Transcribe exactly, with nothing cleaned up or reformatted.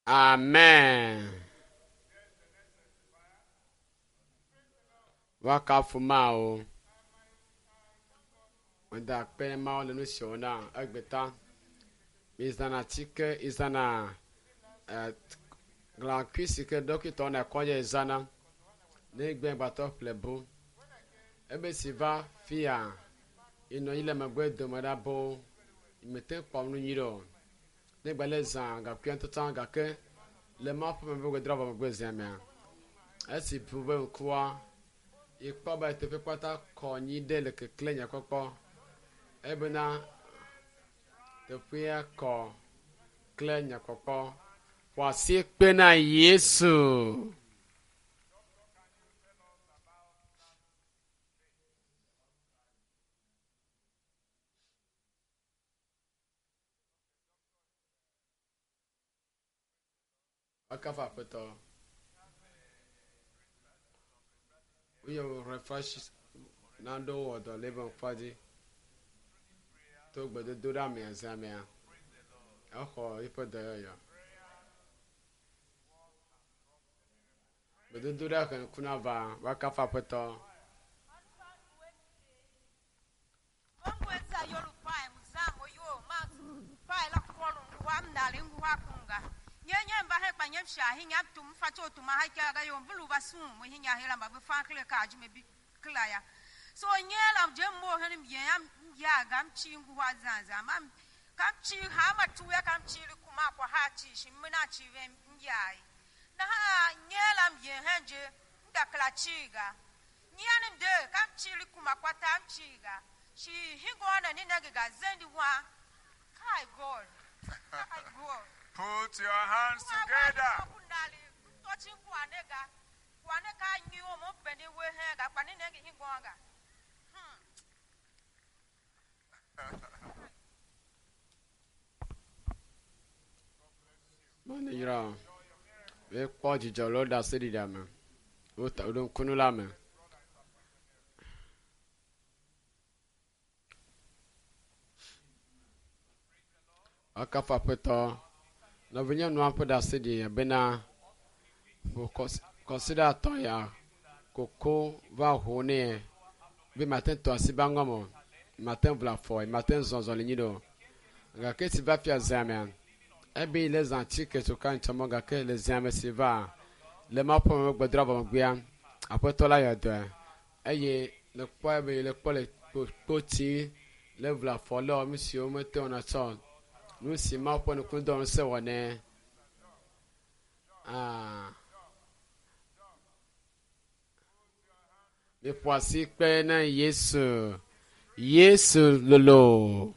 Amen. Woakafu Mawu. Meda akpe Mawu le nu si wòna egbeta. Mizãna atike, izãna eh, glãkui si ke ɖɔkitɔwo na kɔdzi zãna ne egbe gbatɔ ƒle bu. Ebe si va fia enɔ anyi le megbe dome ɖa boo mete kpɔ nu nyui ɖe o. Ne gba le zã gakuia ŋutɔ gake le Mawu ƒe me be gbedra vɔ megbe zia mea, esi ʋu be ŋkua yekpɔ be teƒe kpata kɔ nyi ɖe le kekle nyakpɔkpɔ ebena teƒea kɔ kle nyakpɔkpɔ. Ƒo asi kpe na Yesu. Woakafu Aƒetɔ. Woyɔ refresh naɖewo wɔ dɔ le eƒe ŋkua dzi to gbedodoɖa mea zã mea exɔ eƒe dɔyɔyɔ. Gbedodoɖa he ŋku na va woakafu Aƒetɔ. So nyela je mo hen ye am ya gam chi ngu wa zan zan mam kam chi ha ma tu ya kam chi kuma kwa ha chi shi mina chi ven ya na ha nyela ye hen je nda kla chi ga nyan de kam chi kuma kwa tam chi ga shi hingo na ni na ga zendi wa kai god kai god. Put your hands together. Mane yra wekpɔ dzidzɔ le wo ɖaseɖiɖia me. Wota woɖo ŋkunu la me. Woakafu Aƒetɔ. Nɔvinyɔnua ƒe ɖaseɖiɖia bena ƒo kɔsiɖa atɔ̃ ya koko va ho nɛ be mate ŋu tɔ asi be aŋɔme o, mate ŋu vla afɔ, mate ŋu zɔ zɔli nyuie ɖe o. Gake esi va fia zea mea, ebe yi le zã atike tso ka ŋtsɔ mɔ gake le zea me si va le Mawu ƒe me gbedra vɔ megbea, Aƒetɔ la yɔ dɔe eye le kpɔe be le kpɔ le kpoti le vla afɔ le nu siwo mete wɔna tsɔ nu si Mawu ƒe nukudɔ ŋusẽ wɔ nɛ. Ah. Miƒo asi kpe na Yesu. Yesu lolo.